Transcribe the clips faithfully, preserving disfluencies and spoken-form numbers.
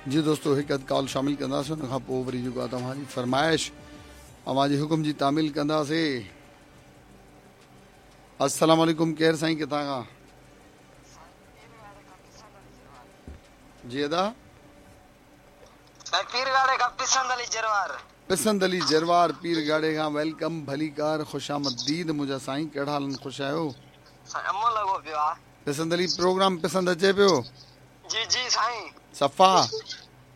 जी दोस्तो हिकु अधु कॉल शामिल कंदासीं, उन खां पोइ वरी जेको आहे तव्हांजी फरमाइश अव्हांजे हुकुम जी तामील कंदासीं। अस्सलाम वालेकुम, केरु साईं किथां खां? जी अदा पीरगाड़े खां पसंद अली जरवार। पसंद अली जरवार पीरगाड़े खां, welcome, भलीकार, ख़ुशामदीद मुंहिंजा साईं, कहिड़ा हाल आहिनि, ख़ुशि आहियो? अमो लॻो पियो आहे। पसंद अली प्रोग्राम पसंदि अचे पियो? जी जी साईं। सफ़ा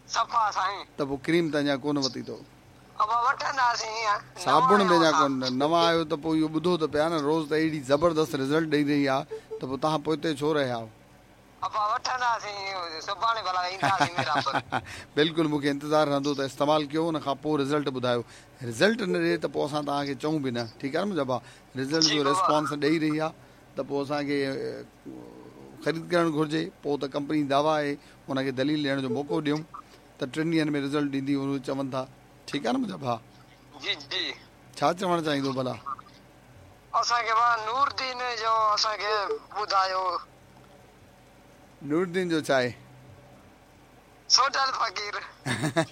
सफ़ा साईं। त पोइ क्रीम त अञा कोन वरिती अथव? अब वठंदासीं। साबुण बि अञा कोन नवां आयो त पोइ इहो ॿुधो त पिया न, रोज़ त अहिड़ी ज़बरदस्त रिज़ल्ट ॾेई रही आहे, त पोइ तव्हां पोइ छो रहिया आहियो? बिल्कुलु मूंखे इंतज़ारु रहंदो त इस्तेमालु कयो, उन खां पोइ रिज़ल्ट ॿुधायो। रिज़ल्ट न ॾिए त पोइ असां तव्हांखे चऊं बि न, ठीकु आहे न मुंहिंजा भाउ? रिज़ल्ट जो रिस्पॉन्स ॾेई रही आहे त पोइ असांखे ख़रीद करणु घुरिजे। पोइ त कंपनी दावा आहे, उनखे दलील ॾियण जो मौक़ो ॾियूं त टिनि ॾींहंनि में रिज़ल्ट ॾींदी, उहो चवनि था। ठीकु आहे न मुंहिंजा भाउ? जी जी। छा चवणु चाहींदो भला? असांखे नूरदीन जो असांखे ॿुधायो। नूरदीन जो छा आहे? सोडल फ़क़ीर।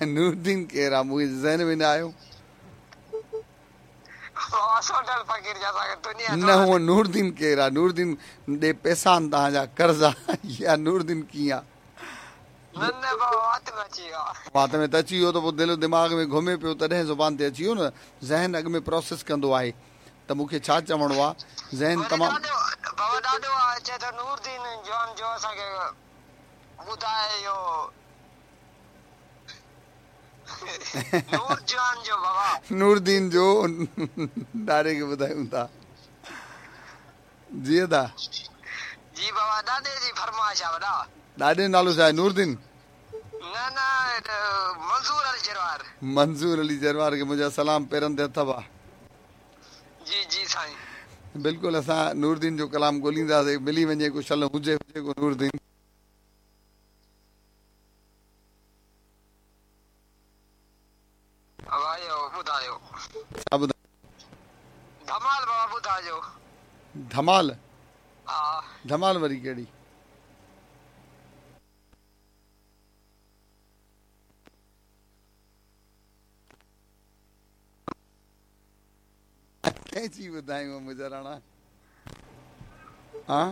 नूरदीन केरु आहे? मूंखे ज़हन में न आयो। न हूअं नूरदीन केरु आहे? नूरदीन ॾे पैसा आहिनि तव्हांजा कर्ज़ आहे या नूरदीन कीअं आहे? वात में त अची वियो त पोइ दिलि दिमाग़ में घुमे पियो, तॾहिं ज़ुबान ते अची वियो न। ज़हन अॻु में प्रोसेस कंदो आहे त मूंखे छा चवणो आहे। ज़हन तमामु नूरदीन जो ॾाॾे खे ॿुधायूं था। जी अदा जी बाबा, ॾाॾे जी फरमाइश आहे वॾा। ॾाॾे जो नालो छा आहे? नूरदीन? न न, मंज़ूर अली जरवार। मंज़ूर अली जरवार खे मुंहिंजा सलाम, पेरनि ते हथ बा। जी जी साईं। बिल्कुलु असां नूरदीन जो कलाम ॻोल्हींदासीं, मिली वञे को शल हुजे हुजे को नूरदीन। छा ॿुधायो? धमाल बाबा ॿुधाइजो। धमाल? हा। धमाल वरी कहिड़ी? कंहिंजी ॿुधायूं मुंहिंजा राणा? हा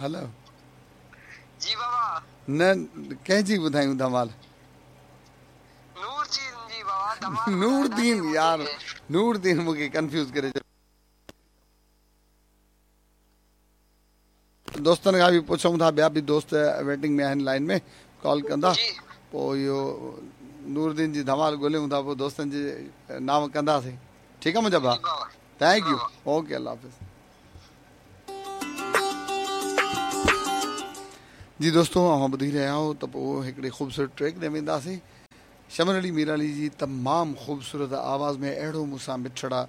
हलो जी बाबा। न कंहिंजी ॿुधायूं धमाल? नूरदीन जी बाबा। धमाल नूरदीन यार, नूरदीन मूंखे कंफ्यूज करे छॾियो। दोस्तनि खां बि पुछूं था, ॿिया बि दोस्त वेटिंग में आहिनि, लाइन में कॉल कंदा, पोइ इहो नूरदीन जी धमाल ॻोल्हियूं था, पोइ दोस्तनि जे नाम कंदासीं। ठीकु आहे मुंहिंजा भाउ, thank you, okay, अलाह हाफ़िज़। जी दोस्तों, अव्हां ॿुधी रहिया आहियो त पोइ हिकिड़ी ख़ूबसूरत ट्रैक ते वेंदासीं। शमन अली मीराली जी तमामु ख़ूबसूरत आवाज़ में अहिड़ो मूंसां मिठड़ा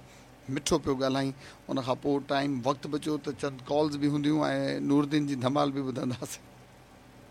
मिठो पियो ॻाल्हाई। उन खां पोइ टाइम वक़्तु बचियो त चंद कॉल्स बि हूंदियूं ऐं नूरदीन जी धमाल बि ॿुधंदासीं।